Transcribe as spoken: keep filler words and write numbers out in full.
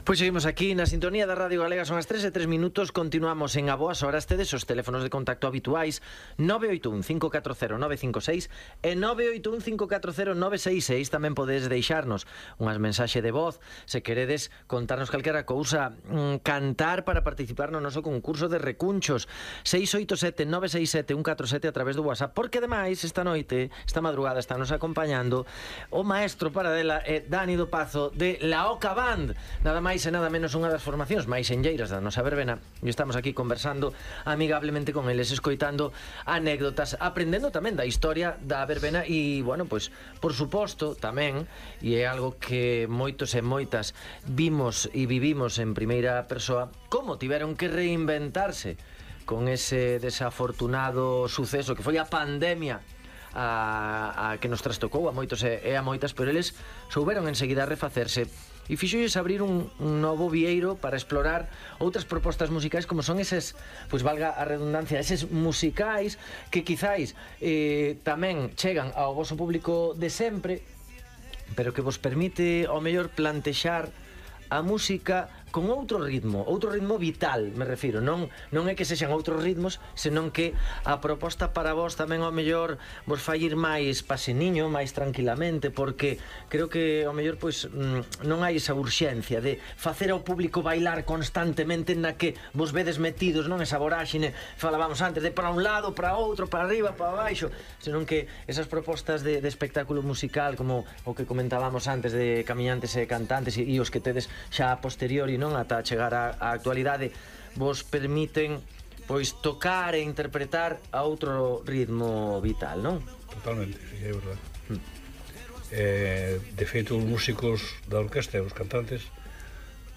Pois seguimos aquí na sintonía da Radio Galega. Son as tres e tres minutos. Continuamos en A Boas Horas. Tedes os teléfonos de contacto habituais nove oito un, cinco catro cero, nove cinco seis e nove oito un, cinco catro cero, nove seis seis. Tamén podedes deixarnos unhas mensaxe de voz se queredes contarnos calquera cousa, cantar para participar no noso concurso de recunchos. Seis oito sete, nove seis sete, un catro sete a través do WhatsApp. Porque ademais esta noite, esta madrugada, está nos acompañando o maestro paradela é Dani do Pazo de La Oca Band. Nada máis e nada menos unha das formacións máis enlleiras da nosa verbena, e estamos aquí conversando amigablemente con eles, escoitando anécdotas, aprendendo tamén da historia da verbena e, bueno, pois, por suposto, tamén, e é algo que moitos e moitas vimos e vivimos en primeira persoa, como tiveron que reinventarse con ese desafortunado suceso que foi a pandemia a, a que nos trastocou a moitos e, e a moitas, pero eles souberon enseguida refacerse e fixolles abrir un, un novo vieiro para explorar outras propostas musicais, como son eses, pois valga a redundancia, eses musicais que quizáis eh, tamén chegan ao voso público de sempre, pero que vos permite ao mellor plantexar a música con outro ritmo, outro ritmo vital, me refiro, non non é que sexan outros ritmos, senón que a proposta para vos tamén ao mellor vos fai ir máis paseniño, máis tranquilamente, porque creo que ao mellor pois non hai esa urxencia de facer ao público bailar constantemente na que vos vedes metidos, non esa voráxine, falábamos antes, de para un lado, para outro, para arriba, para baixo, senón que esas propostas de, de espectáculo musical, como o que comentábamos antes de camiñantes e cantantes e, e os que tedes xa a posteriori, non, ata chegar á, á actualidade, vos permiten pois tocar e interpretar a outro ritmo vital, non? Totalmente, sí, é verdade. Mm. eh, De feito, os músicos da orquesta e os cantantes